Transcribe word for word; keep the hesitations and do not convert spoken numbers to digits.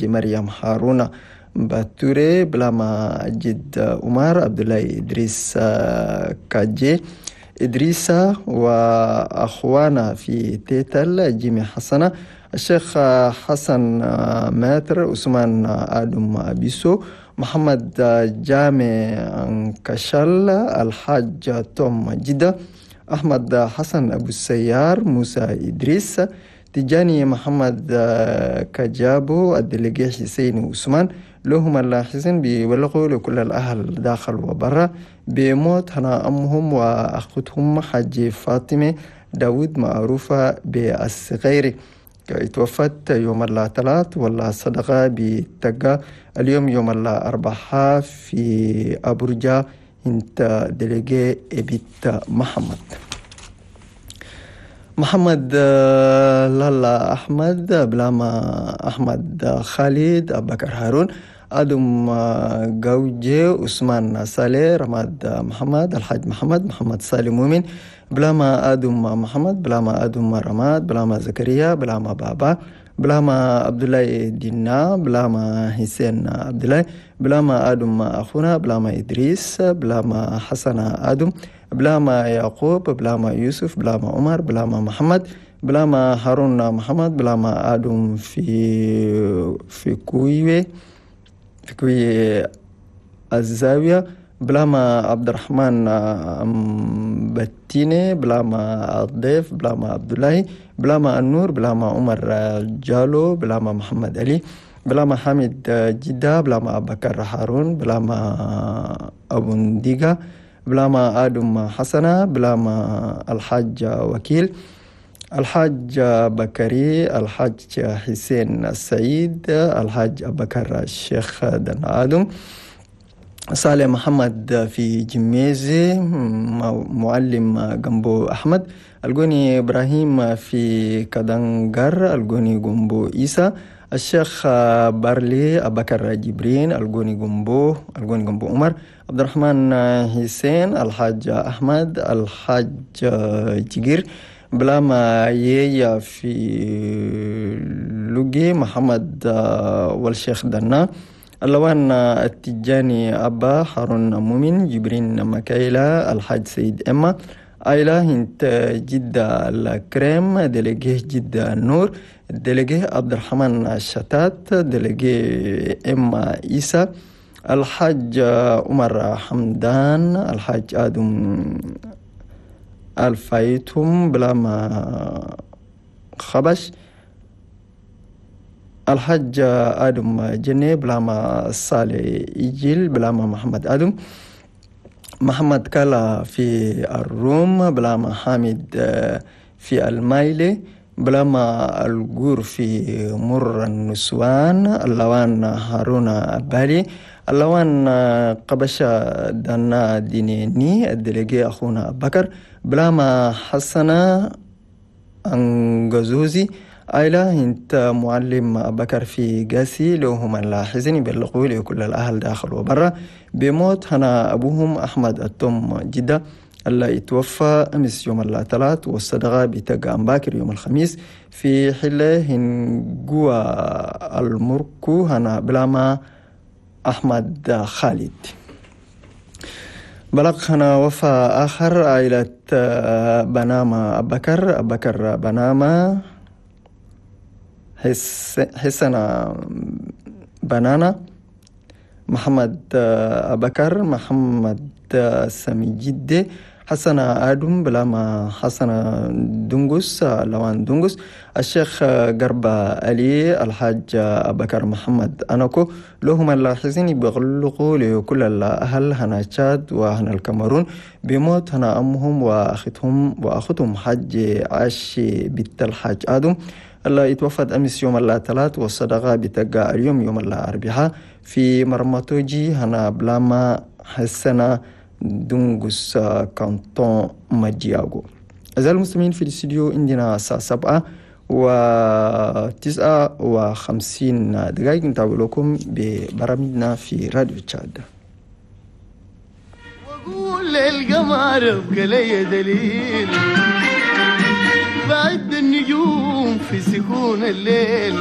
مريم هارون باتوري بلاما جد عمر عبد الله إدريس كاجي إدريسة وأخوانا في تيتل جيمي حسنة الشيخ حسن ماتر عثمان آدم أبيسو محمد جامع كشل الحاج توم جدة أحمد حسن أبو السيار موسى إدريس تجاني محمد كجابو الدلقي حسين عثمان لهم الحسين بيبلغوا لكل الأهل داخل وبرا بموت هنا أمهم وأختهم حاج فاطمة داود معروفة بالصغير توفت يوم الثلاث ولا صدقة بتقى اليوم يوم الأربعاء في أبرجا انت دلقي بيت محمد محمد لالا أحمد بلاما أحمد خالد أبكر هارون آدم جوجي عثمان صالح رماد محمد الحاج محمد محمد صالح مؤمن بلاما آدم محمد بلاما آدم رماد بلاما زكريا بلاما بابا بلاما عبد الله دينا بلاما حسين عبد الله بلاما آدم أخونا بلاما إدريس بلاما حسن آدم بلاما يعقوب بلاما يوسف بلاما عمر بلاما محمد بلاما هارون محمد بلاما آدم في في كويوي في كوي الزاوية بلاما عبد الرحمن بتيني بلاما الضيف بلاما عبد الله بلاما النور بلاما عمر جالو بلاما محمد علي بلاما حامد جدة بلاما أبو بكر هارون بلاما أبو نديقة بلاما آدم حسنة بلاما الحاج وكيل الحاج بكري الحاج حسين السعيد الحاج أبو بكر الشيخ دن آدم صالح محمد في جميزي معلم جنبو أحمد الجوني إبراهيم في كدنجر الجوني جنبو إيسا الشيخ بارلي أبكر جبرين الجوني جنبو الجوني جنبو عمر عبد الرحمن حسين الحاج أحمد الحاج جير بلاما ييا في لوجي محمد والشيخ دنا اللوان التجاني أبا هارون مؤمن جبرين مكايلا الحاج سيد إما آيلا هنت جدة الكريم دلقيه جدة النور دلقيه عبد الرحمن الشتات دلقيه إما إيسا الحاج عمر حمدان الحاج آدم الفايتهم بلاما خبش الحاج آدم جني بلاما صالح إيجيل بلاما محمد آدم محمد كلا في الروم بلاما حامد في المايلي بلاما الجور في مر النسوان اللوان هارون بالي اللوان قبشة دنا دينيني الدلقي أخونا بكر بلاما حسنة أنجزوزي آيلا انت معلم بكر في قاسي لهم اللاحزين يبلغوا لكل الأهل داخل وبرا بموت هنا أبوهم أحمد التوم جدة اللي اتوفى أمس يوم الثلاث والصدقة بتقى باكر يوم الخميس في حلة هنجوا المركو هنا بلاما أحمد خالد. بلغنا وفاة آخر عائلة بناما أبكر أبكر بناما حسن بنانا محمد أبكر محمد سامي جدي حسن آدم بلاما حسن دنجس لوان دنجس الشيخ قربة علي الحاج أبكر محمد أناكو لهم اللاحظين بيغلقوا لكل الأهل هنا تشاد وهنا الكاميرون بموت هنا أمهم وأختهم وأختهم حاج عاشي بنت الحاج آدم اللي اتوفت أمس يوم الثلاث والصدقة بتقى اليوم يوم الأربعاء في مرمتوجي هنا بلاما حسنة دونغوس كانتون ماجياغو. أعزائي المستمعين في الاستوديو عندنا الساعة سبعة وتسعة وخمسين دقائق نتابع لكم ببرامجنا في راديو تشاد. وأقول للقمر ابقى لي دليل بعد النجوم في سكون الليل.